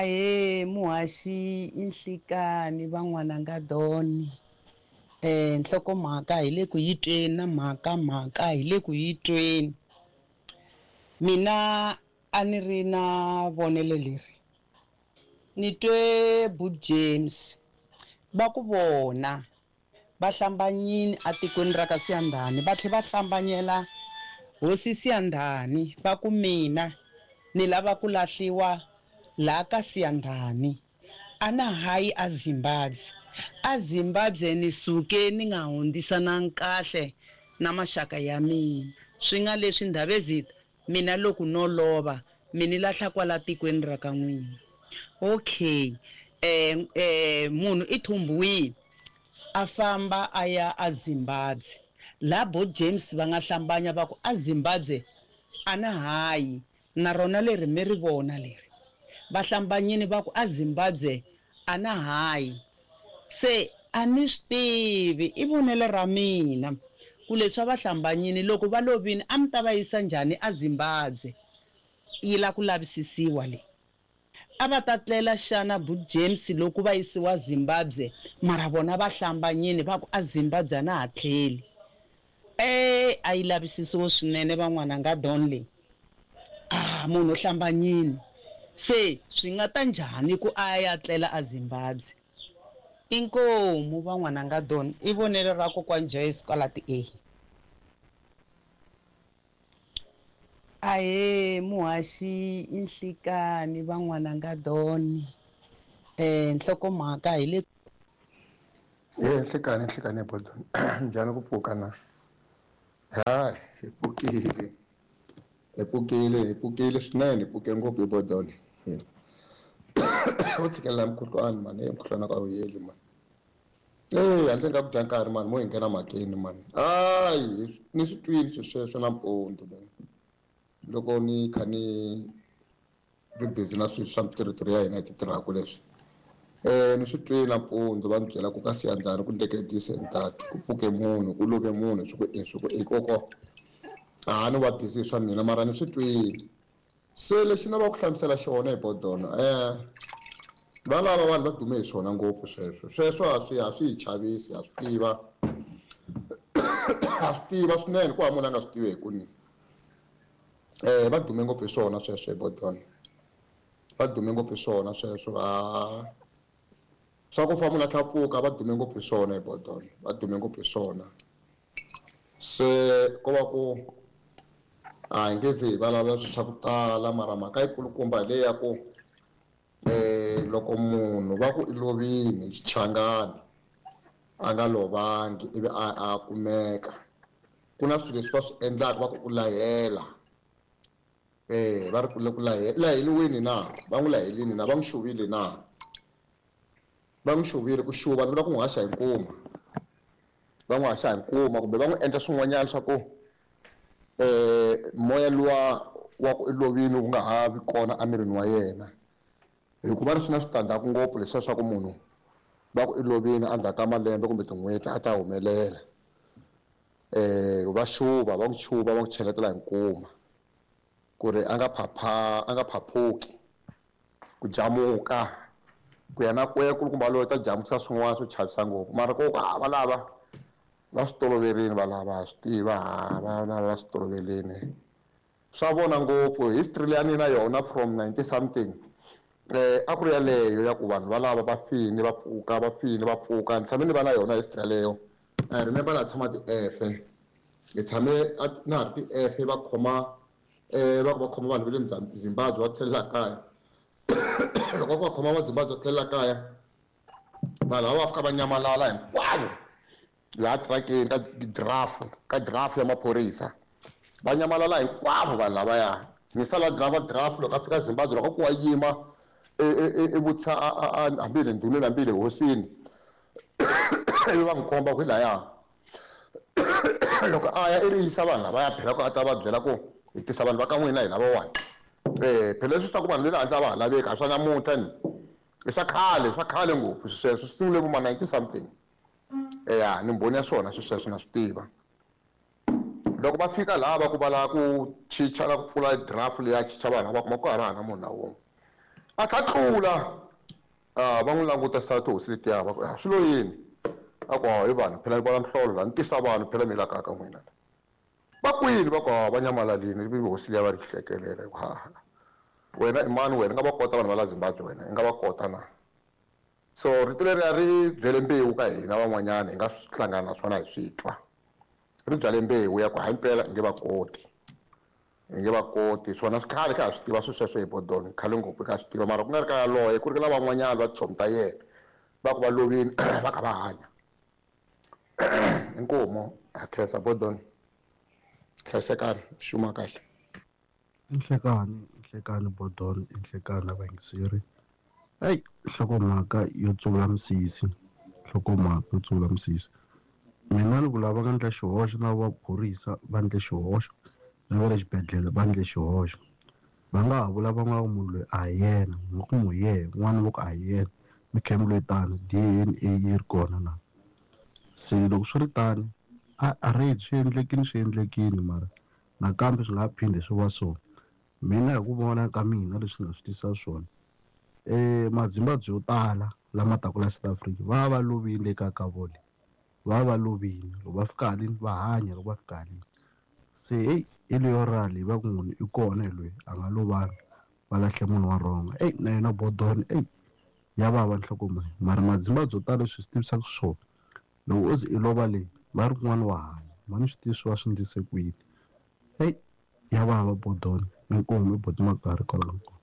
Ahee muhaxi i nhlikani va n'wananga Don nhlokomhaka hi le ku yi tweni na mhaka mhaka hi le ku yi tweni mina a ni ri na vonelo leri ni twe But James va ku vona va hlambanyini atikweni ra ka Siyandhani va tlhe va hlambanyela hosi Siyandhani va ku mina ni lava ku lahliwa la ka Siyandhani a na hayi a Zimbabwe a Zimbabwe ni suke ni nga hundzisanangi kahle na maxaka ya mina swi nga leswi Ndhavezitha mina loko no lova mi ni lahla kwala tikweni ra ka n'wina okay munhu i thumbiwile a famba a ya a Zimbabwe la bo James va nga hlambanya va ku a Zimbabwe a na hayi na rona leri mi ri vona leri va hlambanyini va ku a Zimbabwe a na hayi se a ni swi tivi i vonelo ra mina ku leswi a va hlambanyini loko va lovini a mi ta va yisa njhani a Zimbabwe yi la ku lavisisiwa leyi a va ta tlela xana but James loko va yisiwa Zimbabwe mara vona va hlambanyini va ku a Zimbabwe a na ha tlheli e a yi lavisisiwe swinene van'wananga Don leyi a munhu u hlambanyini se swi nga ta njhani ku a ya tlela a Zimbabwe inkomu van'wananga Don i vonelo ra kokwani Joyce kwala ti-A. Ahee muhaxi i nhlikani va n'wananga Don nhlokomhaka hi le. Nhlikani nhlikani bodon njhani ku pfuka na ha hi pfukile hi pfukile hi pfukile swinene hi pfuke ngopfu hi bodon u tshikelela mukhuhlwani mani e mukhuhlwani a ka wu heli mani e handle ka ku dya nkarhi mani mo hi nghena mhakeni mani hayi ni swi twini swilo sweswo nampundzu loko ni kha ni ri busy na swilo swa mitirhitirho ya hina hi ti tirhaka leswi ni swi twile nampundzu va ni byela ku ka Siyandhani ku ndleke this and that ku pfuke munhu ku love munhu swi ku e swi ku e koko a ni va busy hi swa mina mara ni swi twile se lexi ni lava ku hlamusela xona hi bodona va lava vanhu va dume hi swona ngopfu sweswo sweswo a swi a swi hi chavisi ha swi tiva ha swi tiva swinene ku hava munhu a nga swi tivi hi ku ni va dume ngopfu hi swona sweswo hi bodona va dume ngopfu hi swona sweswo va swa ku fa munhu a tlhela pfuka va dume ngopfu hi swona hi bodona va dume ngopfu hi swona se ko va ku a hi nge ze hi vulavula swilo swa ku tala mara mhaka yikulukumba hi leyi ya ku loko munhu va ku i lovini hi xichangani a nga lovangi ivi a a kumeka ku na swilo leswi va swi endlaka va ku u lahela va ri ku le ku laheliwini na va n'wi lahelini na va n'wi xuvile na va n'wi xuvile ku xuva ni vula ku n'wi haxa hi nkuma va n'wi haxa hi nkuma kumbe va n'wi endla swin'wanyana swa ku moya luwa wa ku i lovini wu nga ha vi kona emirini wa yena hikuva ri swi na switandzhaku ngopfu leswiya swa ku munhu va ku i lovini endzhaku ka malembe kumbe tin'hweti a ta humelela va xuva va n'wi xuva va n'wi cheletela hi nkuma ku ri a nga phapha a nga phaphuki ku jamuka ku ya na ku ya kulukumba loyi ta jamukisa swin'wana swo chavisa ngopfu mara ko ha va lava va swi toloverile va lava ha swi tiva ha va lava va swi toloverile swa vona ngopfu history leyi a ni na yona from 90 something a ku ri yaleyo ya ku vanhu valava va fini va pfuka va fini va pfuka ni tshame ni va na yona history yaleyo I remember na tshama ti-efe hi tshame na ha ri ti-efe va khoma va ku va khoma vanhu va le Zimbabwe va tlhelela kaya loko va ku va khoma va Zimbabwe va tlhelela kaya vanhu lava va fika va nyamalala hinkwavo laha trackeni ka draft ka draft ya maphorisa va nyamalala hinkwavo vanhu lavaya ni sala driver draft loko a fika Zimbabwe loko ku wa yima i vutisa hambi hi le ndhuneni hambi hi le hosini ivi va n'wi komba ku hi laya loko a ya i ri yisa vanhu lavaya phela ku a ta va byela ku hi tisa vanhu va ka n'wina hi lavawani phela leswi swa ku vanhu ve le handle a va ha laveki a swa namuntlha ni i swa khale swa khale ngopfu sweswo swi sungule vo ma 90 something eya ni mbhoni ya swona swi sweswo na swi tiva loko va fika laha va ku va lava ku chicha la ku pfula draft leya chicha vanhu va kuma ku hava na munhu na wun'we. A tlha tlula a va n'wi languta sa tihosi letiya va ku swi lo yini a ku hi vanhu phela ni vona mihlolo la ni tisa vanhu phela mi la kaya ka n'wina va kwini va ku va nyamalalini ivi hosi liya va ri hlekelela hi ku ha wena i mani wena i nga va kota vanhu va la Zimbabwe wena i nga va kota na so rito leriya ri byele mbewu ka hina van'wanyana hi nga swi hlangana na swona hi swi twa ri byale mbewu ya ku hayi mpela i nge va koti i nge va koti swona swi khale kha ha swi tiva swilo sweswo hi bodoni khale ngopfu kha swi tiva mara ku nga ri ka yaloye ku ri na van'wanyana va tichomi ta yena va ku va lovini va kha va hanya inkomu ha khensa bodoni hlayisekani xuma kahle. Nhlekani nhlekani bodoni i nhlekani vayingiseri eyi nhlokomhaka yo tsuvula misisi nhlokomhaka yo tsuvula misisi mina ni ku lava nga endla xihoxo na va phorisa va endle xihoxo na va le xibedhlele va endle xihoxo va nga ha vula van'wana ku munhu loyi a hi yena mi ku hi yena un'wana va ku a hi yena mi kha mi lwetana D_N_A yi ri kona na se loko swi ri tano a already swi endlekile swi endlekile mara nakambe swi nga phinde swi va so mina hi ku vona ka mina leswi nga swi tisa swona mazimbabwe yo tala lama taka la South Africa va va lovile eka ka vona va va lovile loko va fika haleni va hanya loko va fika haleni se heyi hi leyo ra leyi va ku munhu i kona hi loyi a nga lovanga va lahle munhu wa wrong eyi na yena bodoni eyi ya vava nhloko mali mara mazimbabwe yo tala leswi swi tivisaka swona loko o ze i lova leyi va ri kun'wana wa hanya mani swi tivi swi va swi endlise ku yini eyi ya vava bodoni inkomu i boti Makarhi kwalano.